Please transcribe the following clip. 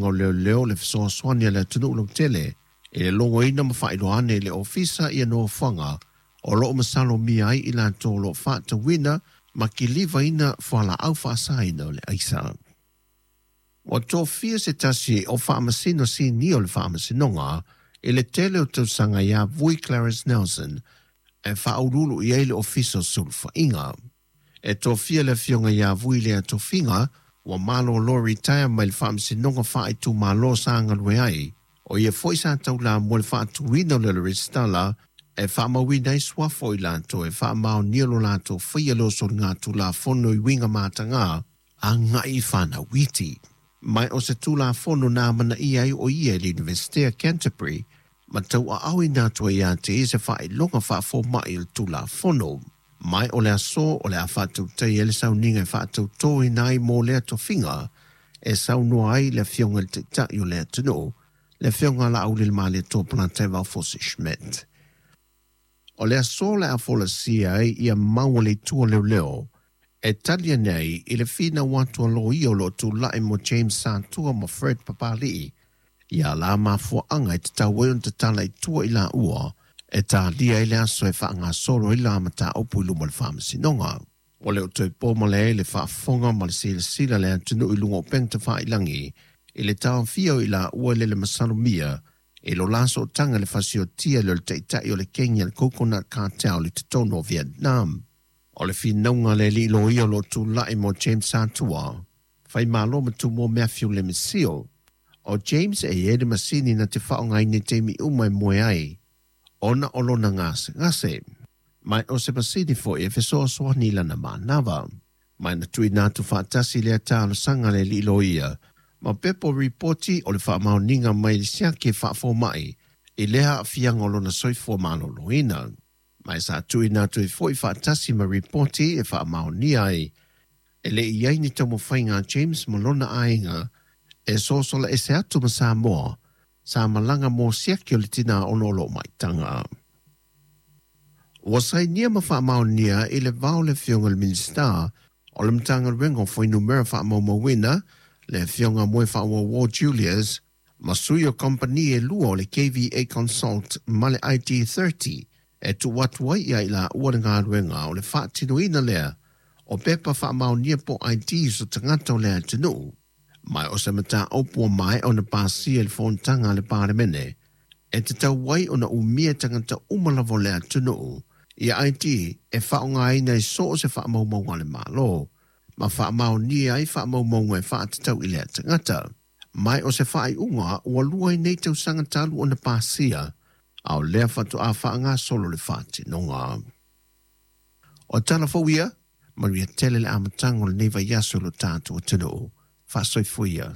O Leoleo le fesoasoani a le atunuu lautele i le logoina ma faailoa ane i le Ofisa ia nofoaga o lo o masalomia ai i latou o lo o faatauina ma kilivaina fualaau faasaina o le aisa. Ua tofia se tasi o Faamasino Sinia o le Faamasinoga i le tele o tausaga ia Vui Clarence Nelson e faauluulu i ai le Ofisa o Sulufaiga. E tofia le afioga ia Vui i lea tofiga ua malolo retire mai le Faamasinoga Faaitumalo sa galue ai, o ia foi sa taulamua i le faatuina o le Resitala e faamauina ai suafa o i latou e faamaonia lo latou faia lea o soligatulafono i uiga mataga agai i fanau iti. Ma o se Tulafono na amanaia ai o ia i le Iunivesite a Canterbury ma tauaaoina atu ai ia te ia se faailoga faafomai o le Tulafono. Ma o le aso o le a faatautaia ai le sauniga e faatautoina ai mo lea tofiga e saunoa ai le Afioga i le Taitai o le atunuu, le Afioga a Laaulialemalietoa Polataivao Fosi Schmidt. O le aso o le a folasia ai ia mau a le Itu o Leoleo e tali ane ai i le finau atu a loia o lo o tulai mo James Satua ma Fred Papali'i ia la mafuaaga e tatau ai ona tatala i tua i laua e talia ai le aso e faagasolo ai la mataupu i luma o le Faamasinoga. Ua le o toe po male ai le faafofoga ma le silasila a le atunuu i luga o upega tafailagi i le taofia o i laua i le masalomia i lo la sootaga i le fasiotia lea o le taitai o le kegi a le Coconut Cartel i totonu o Vietnam. O le finauga a le alii loia o lo o tulai mo James Satua, Faimalo ma Tumua Matthew Lemesio. O James e i ai le masini na te faaaogaina i taimi uma e moe ai ona o lona gasegase. Ma o se masini foi e fesoasoani i lana manava. Ma na tuuina atu faatasi lea talosaga a le alii loia ma pepa o ripoti o le faamaoniga mai le siaki faafomai i lea aafiaga o lona soifua maloloina. Ma sa tuuina atu ai foi faatasi ma ripoti e faamaonia ai e le i ai ni taumafaiga a James ma lona aiga e sosola ese atu ma Samoa sa malaga mo siaki o le tinā ona o loo maitaga. Ua sainia ma faamaonia i le vao le Afioga i le Minisita o le Matagaluega o Fuainumera Faamaumauina, le Afioga Moefaauouo Julius, ma sui o kamupani e lua o le KVA Consult ma le ID30 e tuu atu ai ia i laua le galuega o le faatinoina lea o pepa faamaonia po o IDs o tagata o le atunuu. Ma o se mataupu ua maea ona pasia i le fonotaga a le Palemene e tatau ai ona umia tagata uma lava o le atunuu ia ID e faaaogaina i so o se faamaumauga a le Malo ma faamaonia ai faamaumauga e faatatau i lea tagata. Ma o se faaiuga ua lua ai nei tausaga talu ona pasia, a o lea faatoa faagasolo le faatinoga. O tala fou ia, manuia tele le amataga o lenei vaiaso i lo tatou atunuu. Faasoifua ia.